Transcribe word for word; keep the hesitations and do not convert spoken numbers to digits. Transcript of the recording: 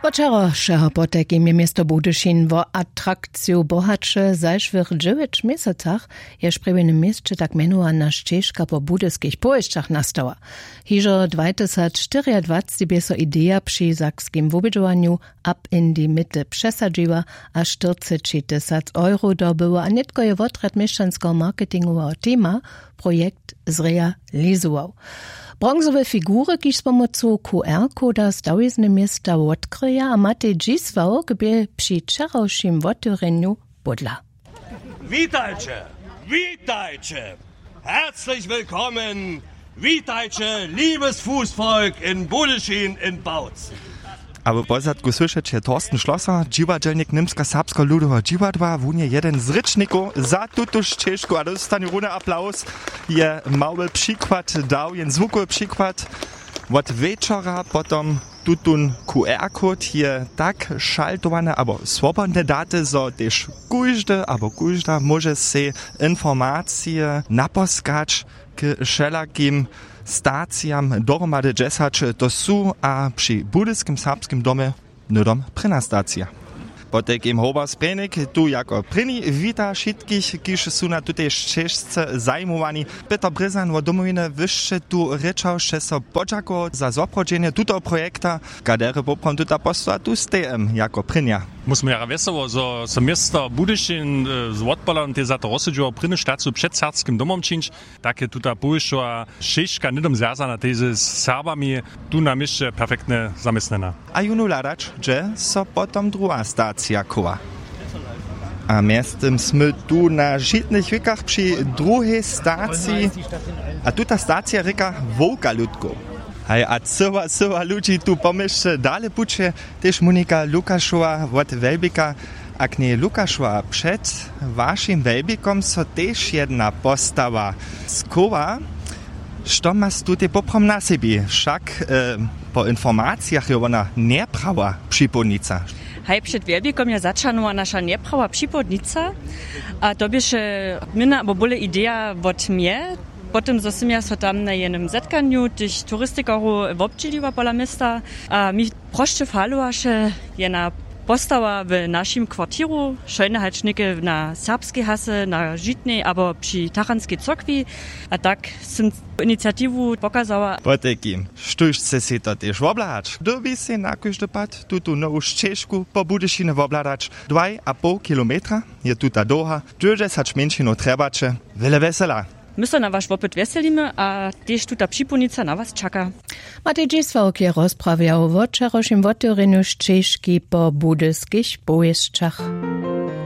Wčerawšeho potajkim je město Budyšin wo atrakciju bohaće. W zašłych dźewjeć měsacach je w sprjewjenym měsće tak mjenowana šćežka po budyskich powěsćach nastała. Hižo dwajtysacštyriadwacci bě so ideja při sakskim wubědźowanju ab in die mitte přesadźiła a štyrcećitysac euro dobyła a nětko je wotrjad měšćanskeho marketingoweho teama projekt zrealizował. Bronzowe figury, kiž z pomocu qr koda stawizny města wotkryja a matej dźisławk bě při wčerawšim wotewrjenju pódla. Witajcie, witajcie, herzlich willkommen, witajcie, liebes Fußvolk in Budyschin, in Bautzen. A w pozadku słyšeće Thorsten Schlosser, dźiwadźelnik Němsko-serbskeho ludoweho dźiwadła. Wón je jeden z rěčnikow za tutu šćežku a dóstanje runje aplaws. Je mały přikład dał, jen zwukowy přikład. Wot wječora potom tutón qr-kód je tak šaltowany abo swobodne daty, zo tež kóždy abo kóžda móže sej informacije naposkać k wšelakim stacijam. Dohromady dźesać to su a při budyskim serbskim domje hnydom prěna stacija. Potajkim hober sprjenik tu jako prěni wita wšitkich, kiž su na tutej šćežce zajimowani. Pětr brězan wot domowiny, wy sće tu rěčał, sće so podźakował za zwoprawdźenje tutoho projekta. Kaderje poprawom tuta postoła tu stejemy jako prěnja? Móžemy jara wjesoło, zo so město Budyšin z wotpoladom tež za to rozsudźiło prěnu staciju před serbskim domom čińć. Tak je tuta powěsćowa šěžka hnydom zwjazana tež z Serbami tu na měsće perfektnje zaměstnjena. A jónu hladać, hdźe so potom druha stacija chowa. A mjeztym smy tu na žitnych wikach při druhej staciji. A tuta stacija rěka wowka ludkow. Haj, a cyła cyła ludźi tu po měsće dale puće. Tež monika lukašowa wot wjelbika. A knjej lukašowa, před wašim wjelbikom so tež jedna postawa schowa. Što mas tutej poprawom na sebi? Wšak po informacijach je wona njeprawa připołdnica. Haj, před wjelbikom je zaćahnowa naša njeprawa připołdnica. A to běše měna abo bóle ideja wot mje, po tym zo sym ja so tam na jenym zetkanju tych turistikarow wobdźěliła pola města. A mi prosće falowaše jedna postawa w našim kwartiru, šojne hač něke na serbskej hasy na žitnej abo při tachanskej cyrkwi. A tak sym iniciatiwu pokazała. Potajkim, štóž chce sej to tež wobhladać, dyrbi sej na kóždy pad tutu nowu šćežku po budyšinje wobhladać. Dwaj a poł kilometra je tuta dołha. Dźewjećdźesać mjeńšinow trjebaće. Wjele wjesela. My so na waš wopyt wjeselimy a tež tuta připołdnica na was čaka. Matej dźisławk je rozprawjał wo wčerawšim wotewrjenju šćežki po budyskich powěsćach.